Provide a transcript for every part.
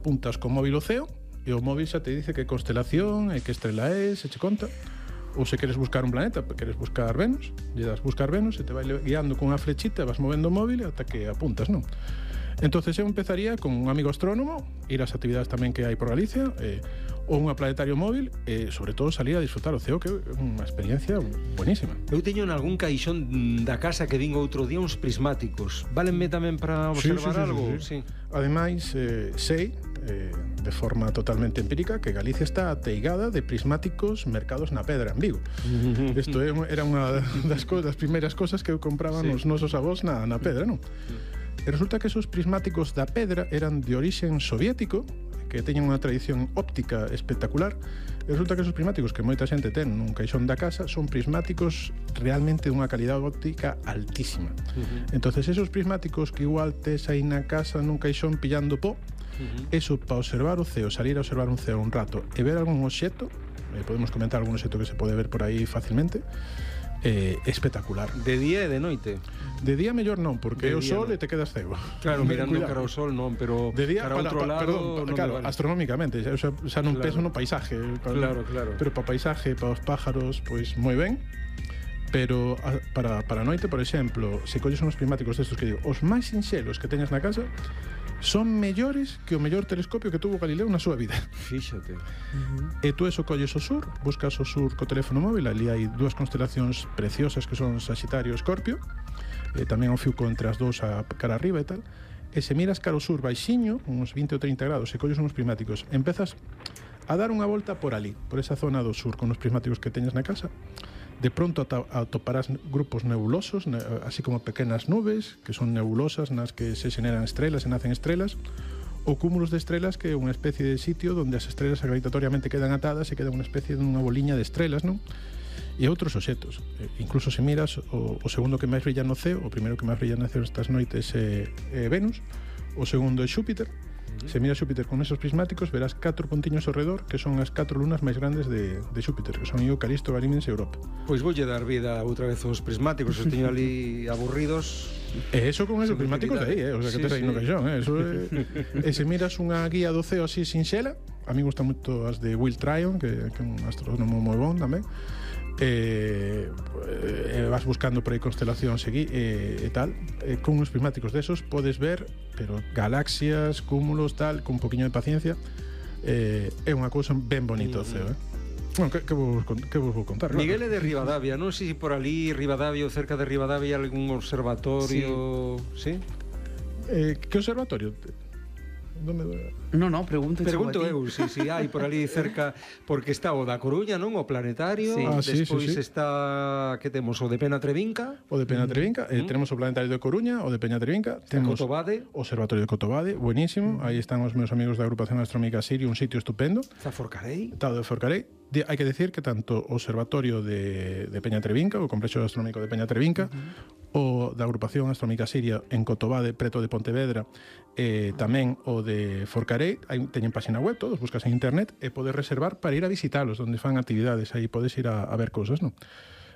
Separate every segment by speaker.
Speaker 1: apuntas con móvil ao ceo e o móvil xa te dice que constelación e que estrela é, se che conta. Ou se queres buscar un planeta, queres buscar Venus, lle das buscar Venus e te vai guiando con unha flechita, vas movendo o móvil ata que apuntas, non? Entonces eu empezaría con un amigo astrónomo, ir ás actividades tamén que hai por Galicia, ou un planetario móvil, e sobre todo salir a disfrutar o ceo, que é unha experiencia buenísima.
Speaker 2: Eu teño en algún caixón da casa que vin outro día uns prismáticos. Válenme tamén para observar algo?
Speaker 1: Sí. Ademais, sei, de forma totalmente empírica, que Galicia está ateigada de prismáticos mercados na pedra, en Vigo. Isto era unha das primeiras cosas que eu compraba nos nosos avós na pedra, non? E resulta que esos prismáticos da pedra eran de orixen soviético, que teñen unha tradición óptica espectacular. E resulta que esos prismáticos que moita xente ten nun caixón da casa son prismáticos realmente dunha calidade óptica altísima. Entonces esos prismáticos que igual tes aí na casa nun caixón pillando pó, eso para observar o ceo, salir a observar un ceo un rato e ver algún obxecto, podemos comentar algún obxecto que se pode ver por aí facilmente, espectacular.
Speaker 2: De día e de noite?
Speaker 1: De día mellor non, porque é o sol e te quedas cego.
Speaker 2: Claro, mirando cara ao sol non, pero
Speaker 1: de día,
Speaker 2: cara ao outro lado non
Speaker 1: claro,
Speaker 2: vale.
Speaker 1: Astronómicamente, xa non penso no paisaje.
Speaker 2: Claro.
Speaker 1: Pero para paisaje, para os pájaros, pois moi ben. Pero para a noite, por exemplo, se colles uns prismáticos destos que digo, os máis sinxelos que teñas na casa son mellores que o mellor telescopio que tuvo Galileo na súa vida.
Speaker 2: Fíxate.
Speaker 1: E tú eso colles o sur, buscas o sur co teléfono móvil, ali hai dúas constelacións preciosas que son Saxitario e Escorpio, tamén o fiuco entre as dous a cara arriba e tal, e se miras cara ao sur baixiño, uns 20 ou 30 graus, e colles uns prismáticos, empezas a dar unha volta por ali, por esa zona do sur, con os prismáticos que teñas na casa. De pronto atoparás grupos nebulosos, así como pequenas nubes, que son nebulosas nas que se xeneran estrelas e nacen estrelas, ou cúmulos de estrelas, que é unha especie de sitio onde as estrelas gravitatoriamente quedan atadas e queda unha especie de unha boliña de estrelas, non? E outros obxectos. Incluso se miras o segundo que máis brilla no ceo, o primeiro que máis brilla no ceo estas noites é Venus, o segundo é Xúpiter. Se miras Xúpiter con esos prismáticos, verás 4 puntiños ao redor, que son as 4 lunas máis grandes de Xúpiter, que son Io, Calisto, Ganímedes e Europa.
Speaker 2: Pois voulle dar vida outra vez aos prismáticos, os teño ali aburridos.
Speaker 1: E eso con esos prismáticos de aí, o sea, que tes aí no caixón, eso e se miras unha guía do ceo así sinxela, a mí gustan moito as de Will Tryon, que é un astrónomo moi bon tamén, vas buscando por aí constelacións e tal, con uns prismáticos desos podes ver, pero galaxias, cúmulos, tal, con un poquinho de paciencia, é unha cousa ben bonita o ceo, Bueno, que vos vou contar?
Speaker 2: Miguel é de Ribadavia, non sei se por ali, Ribadavia ou cerca de Ribadavia, hai algún observatorio, sí?
Speaker 1: Que observatorio?
Speaker 3: No, pregunto
Speaker 2: eu, si hai por ali cerca, porque está o da Coruña, non? O planetario, despois está, que temos, o de Penatrevinca.
Speaker 1: O de Penatrevinca, tenemos o planetario de Coruña, o de Peñatrevinca, temos
Speaker 2: Cotobade,
Speaker 1: o observatorio de Cotobade, buenísimo, aí están os meus amigos da agrupación astronómica Sirio, un sitio estupendo.
Speaker 2: Está Forcarei.
Speaker 1: Está o de Forcarei. Hai que decir que tanto o observatorio de Peñatrevinca, o complexo astronómico de Peñatrevinca, o da agrupación astronómica Siria en Cotobade, preto de Pontevedra, tamén o de Forcarei, teñen página web, todos buscas en internet e podes reservar para ir a visitalos, onde fan actividades, aí podes ir a ver cousas, non?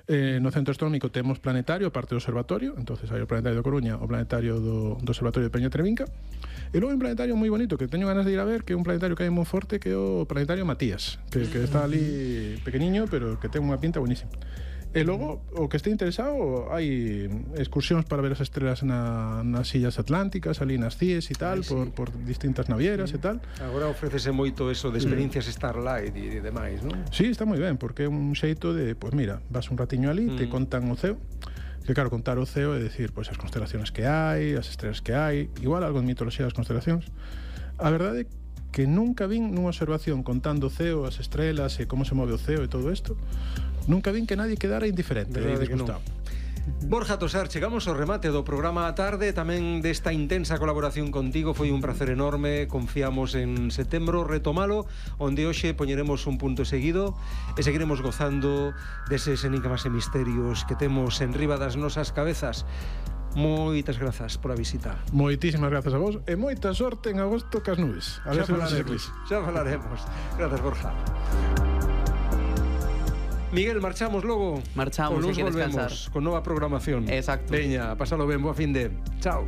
Speaker 1: No centro astronómico temos planetario, aparte do observatorio, entonces hai o planetario de Coruña, o planetario do observatorio de Peñatrevinca, e logo hai un planetario moi bonito que teño ganas de ir a ver, que é un planetario que hai moi forte, que é o planetario Matías, que está ali pequeniño, pero que ten unha pinta buenísima. E logo, o que este interesado, hai excursións para ver as estrelas nas illas atlánticas, ali nas CIES e tal, por distintas navieras e tal.
Speaker 2: Agora ofrécese moito eso de experiencias Starlight e demais, non?
Speaker 1: Sí, está moi ben, porque é un xeito de, pois mira, vas un ratiño ali, te contan o ceo, que claro, contar o ceo é decir, pois as constelacións que hai, as estrelas que hai, igual algo de mitoloxía das constelacións. A verdade é que nunca vin nunha observación contando o ceo, as estrelas e como se move o ceo e todo isto, nunca vin que nadie quedara indiferente e disgustado.
Speaker 2: Borja Tosar, chegamos ao remate do programa a tarde, tamén desta intensa colaboración contigo, foi un placer enorme, confiamos en setembro retomalo, onde hoxe poñeremos un punto seguido e seguiremos gozando deses enigmas e misterios que temos en riba das nosas cabezas. Moitas grazas por a visita.
Speaker 1: Moitísimas grazas a vos e moita sorte en agosto cas nubes. A ver
Speaker 2: xa falaremos. Grazas, Borja. Miguel, marchamos logo.
Speaker 3: Marchamos,
Speaker 2: nos
Speaker 3: hai que
Speaker 2: volvemos
Speaker 3: descansar
Speaker 2: con nova programación.
Speaker 3: Exacto.
Speaker 2: Veña, pásalo ben, boa fin de. Chao.